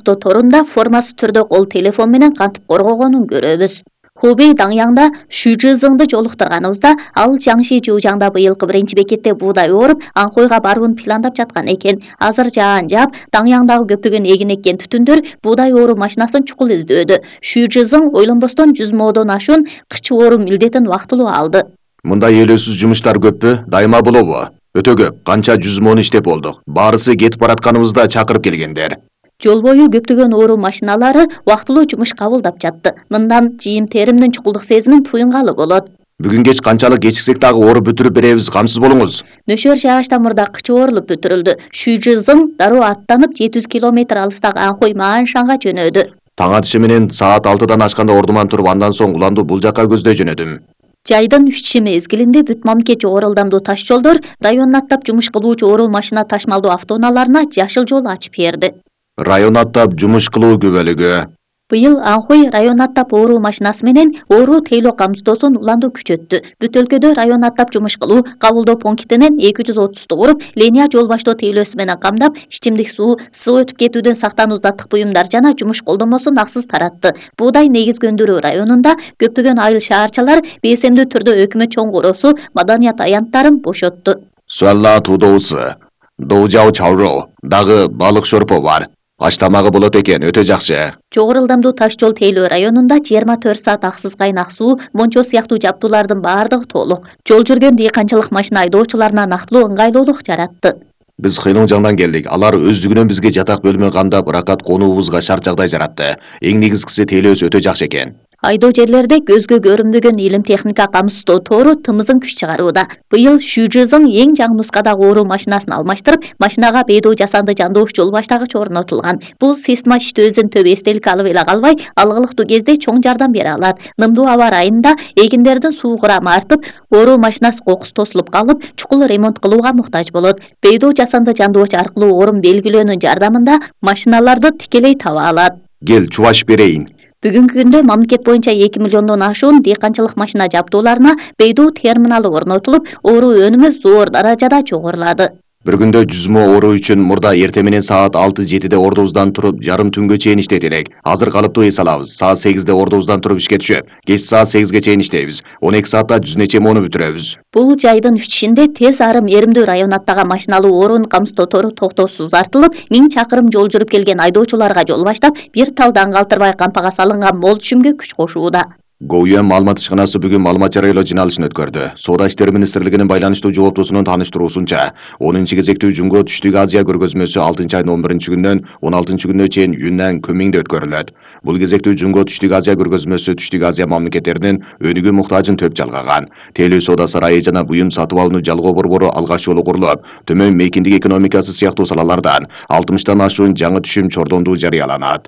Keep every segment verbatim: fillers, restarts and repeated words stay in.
камсыздоо торунда формасыз түрдө кол телефон менен кантип коргогонун көрөбүз. Хубей Даңяңда Шүжизыңды жолуктурганыбызда ал Жаңши Жуужаңда быйылкы биринчи бекетте буудай ооруп, Анхойго барууну пландап жаткан экен. Азыр жаан жаап, Даңяңдагы көптөгөн эгин эккен түтүндөр буудай ооруу машинасын чукул издөөдө. Шүжизың ойлонбостон жүз модон ашуун кыч ооруу милдетин убактылуу алды. Мындай элөөсүз жумуштар көппү? Дайыма болобу? Өтө көп. Канча жүз мон иштеп болдук. Баарысы кетип баратканыбызда чакырып келгендер. Жол бою көптөгөн ооруу машиналары убактылуу жумуш кабылдап жатты. Мындан жийим теримдин чукулдук сезимин туюнгалы болот. Бүгүн кеч канчалык кечиксек дагы ооруп бүтүрүп беребиз, камсыз болуңуз. Нөшөр жаашта мурда кыч оорулуп бүтүрүлдү. Шүжизың дароо аттанып жети жүз километр алыстагы Анхой Мааншанга жөнөдү. Таң атышы менен саат алтыдан ашканда ордуман туруп, андан соң уланду бул жакка көздөй жөнөдүм. Жайдын үч мезгилинде бүт мамлекет жогору ылдамдуу таш жолдор район аттап жумуш кылуучу ооруу машина ташмалдуу автоунааларына жашыл жол ачып берди. Район аттап жумуш кылуу күбөлүгү. Быйыл Анхой район аттап ооруу машинасы менен ооруу тейлөө камсыздоосун уланду күчөттү. Бүт өлкөдө район аттап жумуш кылуу кабылдоо пунктинен эки жүз отузду куруп, линия жол баштоо тейлөөсү менен камдап, ичимдик суу, суу өтүп кетүүдөн сактануу заттык буюмдар жана жумуш колдомосун аксыз таратты. Буудай негизгөндүрүү районунда көптөгөн айыл шаарчалар бейсемдүү түрдө өкмөт чоң короосу, маданият аянттарын бошотту. Суалла туудоусу, доужау чауроо, дагы балык шорпо бар. Аш тамагы болот экен, өтө жакшы. Жогору ылдамдуу таш жол тейлөө районунда жыйырма төрт саат аксыз кайнак суу, мончо сыяктуу жабдуулардын баардыгы толук. Жол жүргөн дыйканчылык машина айдоочуларына нактылуу ыңгайлуулук жаратты. Биз Хыйлыңжаңдан келдик. Алар өздүгүнөн бизге жатак бөлмө кандап, ракат конуубузга шарт жагдай жаратты. Эң негизгиси тейлөөсү өтө жакшы экен. Айдоо жерлерде көзгө көрүнбөгөн илим техника камсыздоо тору тымызын күч чыгарууда. Быйыл Шүжизың эң жаңы нускадагы ооруу машинасын алмаштырып, машинага бейдоо жасанды жандоош жол баштагыч орнотулган. Бул система иштөөсүн төбө эстелик алып эле калбай, алгылыктуу кезде чоң жардам бере алат. Нымдуу аба ырайында эгиндердин суу курамы артып, ооруу машинасы кокус тосулуп калып, чукул ремонт кылууга муктаж болот. Бейдоо жасанды жандооч аркылуу орун белгилөөнүн жардамында машиналарды тикелей таба алат. Кел, чубаш берейин. Бүгүнкү күндө мамлекет боюнча эки миллиондон ашуун дыйканчылык машина жабдууларына бейдоо терминалы орнотулуп, ооруу өнүмү зор даражада жогорулады. Bir күндө жүз мо ооруу үчүн мурда эрте менен саат алты жетиде ордубуздан туруп жарым түнгө чейин иштейт элек. Азыр калыптуу эс алабыз. Саат сегизде ордубуздан туруп ишке түшөп, кеч саат сегизге чейин иштейбиз. он эки саатта жүз нече мону бүтүрөбүз. Бул жайдын үчүшүндө тез арым эримдүү район аттаган машиналуу оорууну камсыздоо тору токтоосуз артылып, миң чакырым жол жүрүп келген айдоочуларга жол баштап, бир талдан калтырбай кампага салынган мол түшүмгө күч кошууда. ГОЮМ маалымат ишканасы бүгүн маалымат жарыялоо жиналышын өткөрдү. Соода иштери министрлигинин байланыштуу жооптусунун тааныштыруусунча, онунчу кезектүү Жунго Түштүк Азия көргөзмөсү алтынчы айдын он биринчи күнүнөн он алтынчы күнүнө чейин Юннан Көнмиңде өткөрүлөт. Бул кезектүү Жунго Түштүк Азия көргөзмөсү Түштүк Азия мамлекеттеринин өнүгүү муктажын төп жалгаган. Тейлөө соода сарайы жана буюм сатып алууну жалгоо борбору алгач жолу курулуп, төмөн мейкиндик экономикасы сыяктуу салалардан алтымыштан ашуун жаңы түшүм чордондуу жарыяланат.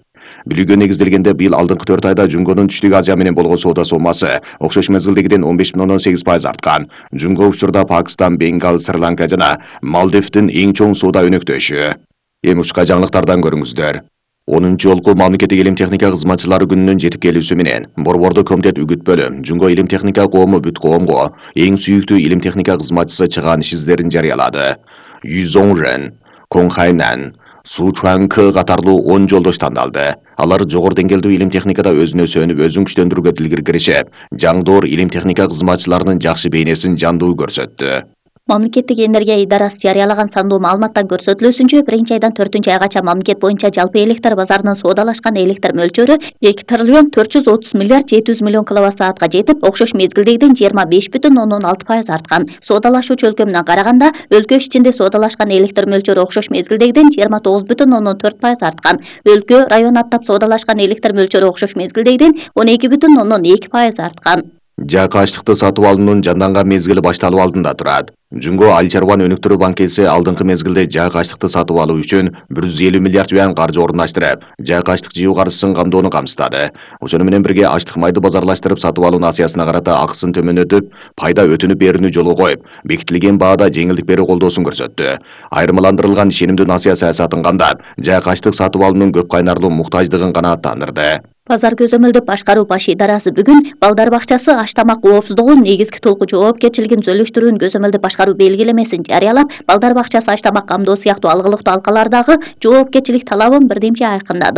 Билүүгө негизделгенде быйыл алдыңкы төрт айда Жунгонун Түштүк Азия менен болгон соода сомасы окшош мезгилдегиден он беш бүтүн ондон сегиз пайыз арткан. Жунго учурда Пакистан, Бенгал, Шри-Ланка жана Малдивдин эң чоң соода өнөктөшү. Эми учка жаңылыктардан көрүңүздөр. онунчу жолку мамлекеттик илим техника кызматчылары күнүнүн жетип келүүсү менен Борбордук комитет үгүтпөлү Жунго илим техника коому бүт коомго эң сүйүктүү илим техника кызматчысы чыгаан иш издерин жарыялады. Юзоңрен, Коңхайнан, Сучуанкы катарлуу он жолдош тандалды. Алар жогору деңгээлдүү илим техникада өзүнө сөнүп, өзүн күчтөндүрүүгө дилгир киришип, жаңдоор илим техника кызматчыларынын жакшы бейнесин жандуу көрсөттү. Мамлекеттик энергия идарасы жарыялаган сандуу маалыматтан көрсөтүлүүсүнчө биринчи айдан төртүнчү айгача мамлекет боюнча жалпы электр базарынын соодалашкан электр мөлчөрү эки триллион төрт жүз отуз миллиард жети жүз миллион киловатт саатка жетип, окшош мезгилдегиден жыйырма беш бүтүн ондон алты пайыз арткан. Соодалашуучу өлкө менен караганда, өлкө ичинде соодалашкан электр мөлчөрү окшош мезгилдегиден жыйырма тогуз бүтүн ондон төрт пайыз арткан. Өлкө район аттап соодалашкан электр мөлчөрү окшош мезгилдегиден он эки бүтүн ондон эки пайыз арткан. Жакы аштыкты сатып алуунун жанданган мезгили башталуу алдында турат. Жунго Айыл чарбаны өнүктүрүү банкеси алдыңкы мезгилде жак аштыкты сатып алуу үчүн бир жүз элүү миллиард юан каржы орундаштырып, жак аштык жыйуу каржысын камдоону камсыздады. Ошону менен бирге аштык майды базарлаштырып сатып алуу насыясына карата акысын төмөнөтүп, пайда өтүнүп берүүнү жолго коюп, бекитилген баада жеңилдик берүү колдоосун көрсөттү. Айырмаландырылган ишенимдүү насыя саясатын камдап, жак аштык сатып алуунун көп кайнарлуу муктаждыгын канааттандырды. Базар көзөмөлдөп башкаруу баш идарасы бүгүн балдар бакчасы аш тамак коопсуздугунун негизги толку жоопкерчилигин түзөлүштүрүүнү көзөмөлдөп башкаруу белгилемесин жарыялап, балдар бакчасы аш тамак камдоо сыяктуу алгылыктуу алкалардагы жоопкерчилик талабын бирдемче айкындады.